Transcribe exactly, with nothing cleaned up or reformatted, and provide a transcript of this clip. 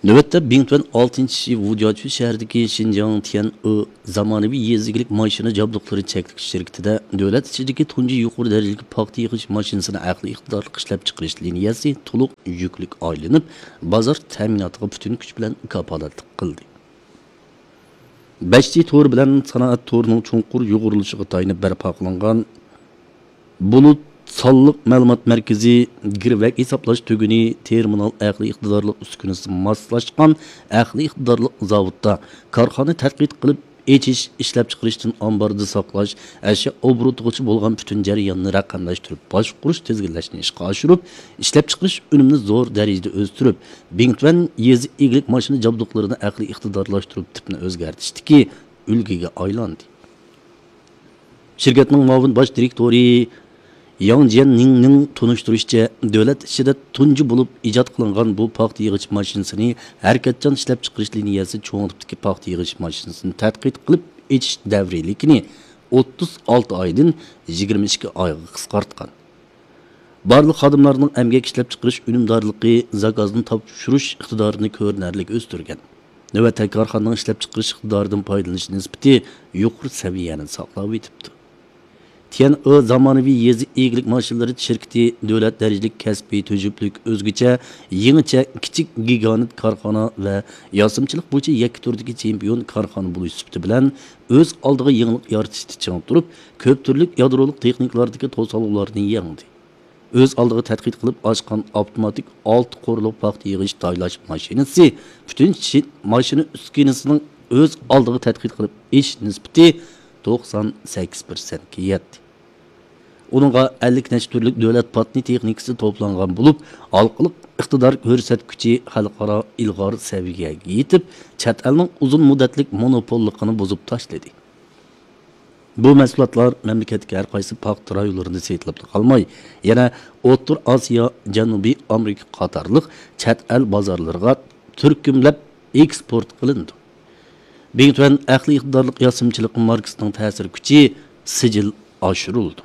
نۆۋەتتە بىڭتۈەن ئالتىنچى ۋۇجياچۈ شەھىرىدىكى شىنجاڭ تيەنئې زامانىۋى يېزا ئىگىلىك ماشىنا جابدۇقلىرى چەكلىك شىركىتىدە دۆلەت ئىچىدىكى تۇنجى يۇقىرى دەرىجىلىك پاختا يىغىش ماشىنىسىنى ئەقلىي ئىقتىدارلىق ئىشلەپچىقىرىش لىنىيەسى تولۇق يۈكلۈك ئايلىنىپ، بازار تەمىناتىغا پۈتۈن كۈچ بىلەن كاپالەتلىك قىلدى. بەش جى تور بىلەن سانائەت تورىنىڭ چوڭقۇر يۇغۇرۇلۇشىغا تايىنىپ بەرپا قىلىنغان بۇلۇت سانلىق مەلۇمات مەركىزى، گىرۋەك ھېسابلاش تۈگۈنى، تېرمىنال ئەقلىي ئىقتىدارلىق ئۈسكۈنىسى ماسلاشقان ئەقلىي ئىقتىدارلىق زاۋۇتتا كارخانا تەتقىق قىلىپ ئېچىش، ئىشلەپچىقىرىشتىن ئامباردا ساقلاش، ئەشيا ئوبوروتىغىچە بولغان پۈتۈن جەرياننى رەقەملەشتۈرۈپ باشقۇرۇش، تىزگىنلەشنى ئىشقا ئاشۇرۇپ، ئىشلەپچىقىرىش ئۈنۈمىنى زور دەرىجىدە ئۆستۈرۈپ، بىڭتۈەن يېزا ئىگىلىك ماشىنا جابدۇقلىرىنى ئەقلىي ئىقتىدارلاشتۇرۇپ، تىپنى ئۆزگەرتىشتىكى ئۈلگىگە ئايلاندى. شىركەتنىڭ مۇئاۋىن باش دىرېكتورى ياڭ جيەننىڭنىڭ تونۇشتۇرۇشىچە، دۆلەت ئىچىدە تۇنجى بولۇپ ئىجاد قىلىنغان بۇ پاختا يىغىش ماشىنىسىنى ھەرىكەتچان ئىشلەپچىقىرىش لىنىيەسى چوڭ تىپتىكى پاختا يىغىش ماشىنىسىنى تەتقىق قىلىپ ئېچىش دەۋرىيلىكىنى ئوتتۇز ئالتە ئايدىن يىگىرمە ئىككى ئايغا قىسقارتقان. بارلىق خادىملارنىڭ ئەمگەك ئىشلەپچىقىرىش ئۈنۈمدارلىقى، زاكازنى تاپشۇرۇش ئىقتىدارىنى كۆرۈنەرلىك ئۆستۈرگەن. نۆۋەتتە كارخانىنىڭ ئىشلەپچىقىرىش ئىقتىدارىدىن پايدىلىنىش نىسبىتى يۇقىرى سەۋىيەنى ساقلاۋېتىپتۇ. تيەنئې زامانىۋى يېزا ئىگىلىك ماشىنىلىرى شىركىتى دۆلەت دەرىجىلىك كەسپىي تۈزۈملۈك ئۆزگىچە، يېڭىچە، كىچىك گىگانت كارخانا ۋە ياسىمىچىلىق بويىچە يەككە تۈردىكى چېمپىيون كارخانا بولۇش سۈپىتى بىلەن، ئۆز ئالدىغا يېڭىلىق يارىتىشتا چىڭ تۇرۇپ، كۆپ تۈرلۈك يادرولۇق تېخنىكىلاردىكى توسالغۇلارنى يەڭدى. ئۆز ئالدىغا تەتقىق قىلىپ ئاچقان ئاپتوماتىك ئالتە قورۇلۇق پاختا يىغىش تايلاش ماشىنىسى پۈتۈن شى-، ماشىنا ئۈسكۈنىسىنىڭ ئۆز ئالدىغا تەتقىق قىلىپ ئېشىش نىسبىتى توقسان سەككىز پىرسەنتكە يەتتى. ئۇنىڭغا ئەللىك نەچچە تۈرلۈك دۆلەت پاتېنت تېخنىكىسى توپلانغان بولۇپ، ھالقىلىق ئىقتىدار كۆرسەتكۈچى خەلقئارا ئىلغار سەۋىيەگە يېتىپ، چەت ئەلنىڭ ئۇزۇن مۇددەتلىك مونوپوللۇقىنى بۇزۇپ تاشلىدى. بۇ مەھسۇلاتلار مەملىكەتتىكى ھەر قايسى پاختا رايونلىرىدا سېتىلىپلا قالماي، يەنە ئوتتۇرا ئاسىيا، جەنۇبىي ئامېرىكا قاتارلىق چەت ئەل بازارلىرىغا تۈركۈملەپ ئېكسپورت قىلىنىدۇ. بىڭتۈەن ئەقلىي ئىقتىدارلىق ياسىمىچىلىق ماركىسىنىڭ تەسىر كۈچى سىجىل ئاشۇرۇلىدۇ.